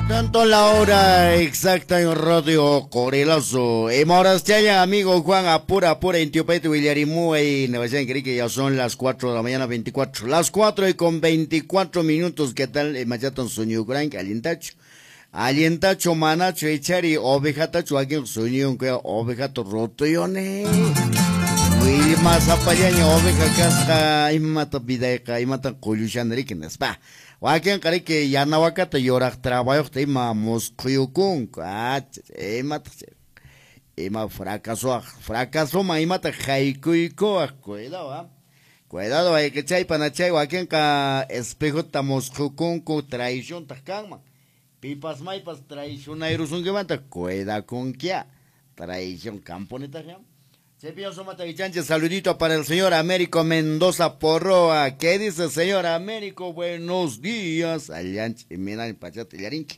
Tanto la hora exacta en Radio Corelazo. Emorastiaya, amigo Juan, apura, apura, en Tiopete, Villarimuay, Nueva que ya son las 4 de la mañana, 24. Las 4 y con 24 minutos, ¿qué tal? Machatan sueño gran, alientacho. Alientacho, manacho, echari, ovejatacho, aquí sueño, ovejato, rotoyone. Wilma zapallaña, oveja kasqa, imata vidayqa, imata qullushanriki, nispa. Wakinqa riki yanawakata yuraq trabayuqta ima musqhuyukunku, imataq ima fracasuaq, fracasuman imata haykuykuwaq, cuidado, ah. Cuidado, ayqichay panachay wakinqa espejota musqhukunku traiciontaq kanman. Pipas maypas traicionayrusunkimanta, cuidakunkia, traición camponetaq. Chaypiña sumata ichanche, saludito para el señor Américo Mendoza Porroa. ¿Qué dice señor Américo? Buenos días. Allanche, Minal, Pachate, Yarinque.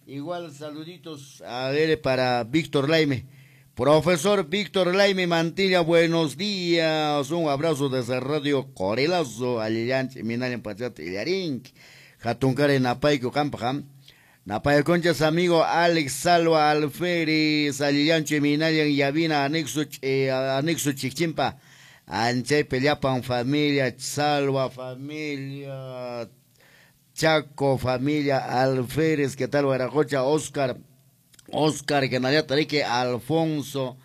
Igual saluditos a ver para Víctor Laime. Profesor Víctor Laime Mantilla, buenos días. Un abrazo desde Radio Corelazo. Allanche, Minal, Pachate, Yarinque. Jatuncare, Napaico, Campajam. Napaya Conchas, amigo Alex Salva Alférez, Alillancho, Minalian, Yavina, anexo, anexo Chichimpa, Anchay Peliapan, familia, Salva, familia, Chaco, familia, Alférez, ¿qué tal, Guaracocha? Oscar, Oscar, que Tarique, Alfonso,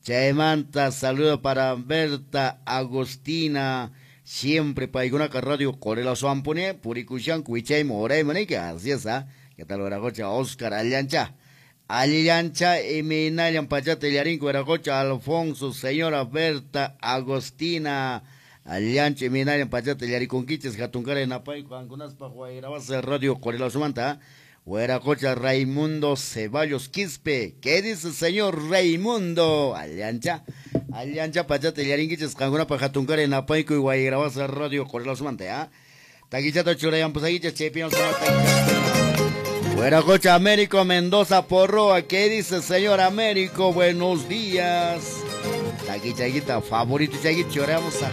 Chaymanta, saludo para Berta, Agustina, siempre Paigunaca Radio, Corela Suampone, Puricuchan, Cuichay, Morey, Manique, así es, ¿ah? ¿Qué tal, Veracocha? Oscar Allancha. Allancha, Eminayan, Pachate, Yarinco, Veracocha, Alfonso, señora Berta, Agostina, Allancha, Eminayan, Pachate, Yariconquiches, Jatuncara, Napay, Juan Guairabasa, Radio Corela Sumanta, Hueracocha, Raimundo Ceballos Quispe. ¿Qué dice el señor Raimundo? Allancha, Allancha, Pachate, Yarinquiches, Jangunapa, Jatuncara, Napayco y Guairabasa, Radio Corela Sumanta, ¿ah? Taquichato, Churayan, Pusaguiches, Chepion, Hueracocha, Américo Mendoza Porroa, ¿qué dice señor Américo? Buenos días. Taquichaguita, favorito, chaguita, choramos a.